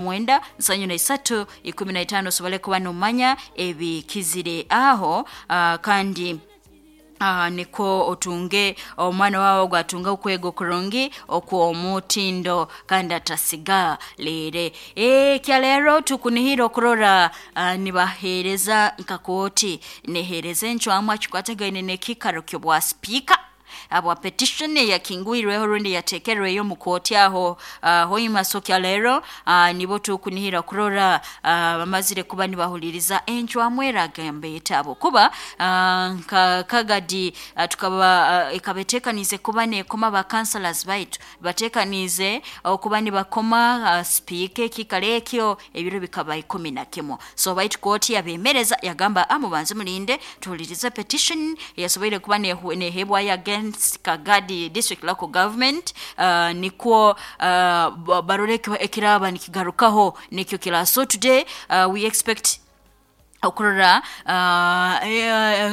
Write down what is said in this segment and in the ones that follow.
9 73 15 osobole kuba nomanya ebikizire aho. Kandi niko otunge omwana wawe gwatunga okwega okurungi okw'omutindo kandi atasiga lere. Kyaleero tukunihira okurora nibaheereza nka kooti neheereza encwamu akikwatagaine n'ekiikaro ky'obwa sipiika abwa petition eyakingwirweho rundi yateekerweyo mu kooti aho. Hoima. So kyaleero nibo tukunihira kurora bamazire kuba nibahuliriza encwamu eragamba etaabo kuba nka Kagadi tukaba ekaba eteekaniize kuba nekoma ba councillors baitu bateekaniize okuba nibakoma sipiika ekiikaro ekyo ebiro bikaba 11. So baitu kooti yabeemereza yagamba, mubanze mulinde tuhulirize petition eyasoboire kuba nehebwayo against Kagadi District Local Government, nikwo barole ekiraba nikigarukaho nikyo kira. So today we expect okurora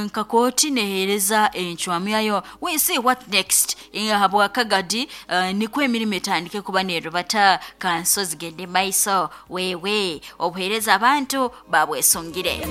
nka kooti neheereza encwamu yayo. We see what next habwa Kagadi, nikwo emirimu etandike kuba nerubata, kanso zigende maiso, wewe obuheereza abantu babwesungire.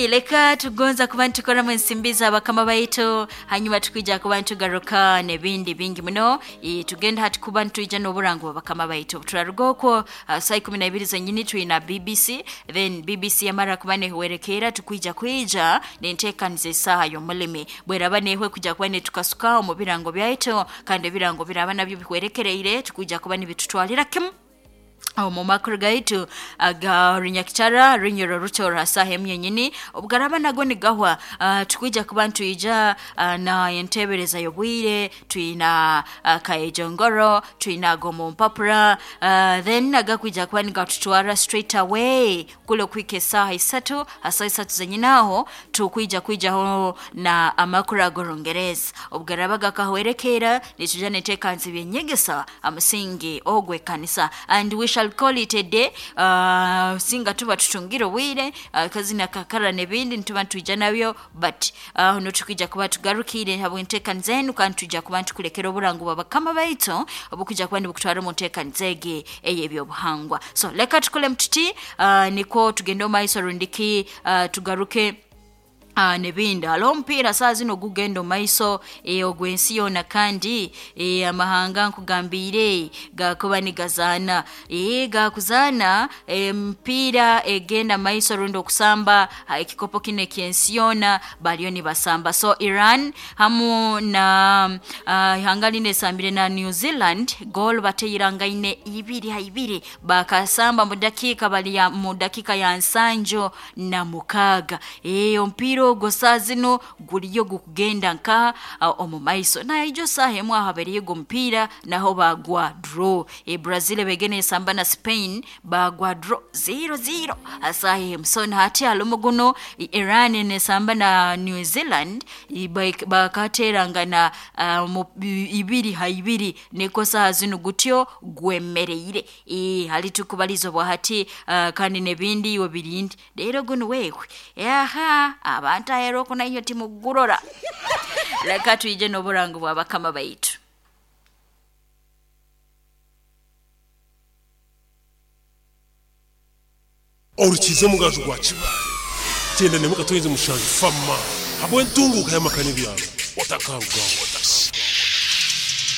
Leka tugonza kuba nitukoramu ensimbi z'abakama baitu, hanyuma tukwija kuba nitugaruka n'ebindi bingi muno. Tugenda hati kuba nitwija n'oburango bw'abakama baitu. Turaruga okwo saa 12 zenyini twina BBC, then BBC yamara kuba nehwerekera tukwija kwija nenteekaniza esaaha y'omulimi bweraba nehwe kuja kuba netukasuka omu birango byaitu, kandi ebirango biraba nabyo bihwerekereire tukwija kuba nibitutwalira kimu omu makuru gaitu aga Runyakitara Runyoro Rutora saha emu yenyini. Obugaraba nago nigahwa, tukwija kuba ntwija na entebereza y'obwire, twina kaejongoro, twina ago mu mpapura, then agakwija kuba nigatutwara straight away kule kwika esaaha 3. Asaha 3 zenyini aho tukwija kwijaho na amakuru ag'Orungereza. Obugaraba gakahwerekera nituja neteekanisa ebyenyegesa amusingi ogw'ekanisa, and we shall call it a day. Singa tuba tutungire obwire, kazina kakara n'ebindi nituba nitwija nabyo, but no tukwija kuba tugarukire habw'enteekaniza enu, kandi twija kuba ntukulekera oburango bw'abakama baitu obukwija kuba nibukutwara omu nteekaniza egi ey'ebyobuhangwa. So leka tukole mututi, nikwo tugende omu maiso rundiki tugaruke nebindi. Haliho omupiira saa zino gugenda omu maiso, ogw'ensi yoona, kandi amahanga nkugambiire gakuba nigazaana, gakuzaana emipiira egenda maiso rundi okusamba ekikopo kino eky'ensi yoona bariyo nibasamba. So Iran hamu na ihanga lino esambire na New Zealand, goal bateirangaine 2-2, bakasamba mu dakiika bali mu dakiika ya 76. Omupiira ogwo saa zino guliyo gukugenda nka omu maiso naijo saaha emu aho haberiyo omupiira naho bagwa draw. Brazil begene esamba na Spain bagwa draw 0-0 asaaha emu. So hati halumu guno Iran nesamba na New Zealand bakaterangana 2-2, niko saaha zino gutyo gwemereire. Hali tukubaliza obwahati, kandi n'ebindi iwe birindi rero guno wewe aha abantu ahera okunaiyo timugurora. Leka twije n'oburango bw'abakama baitu. Orukiza omugaju gwa Kibaale 97 fama habw'entunguka y'amaka n'ibyaro otakarugaho.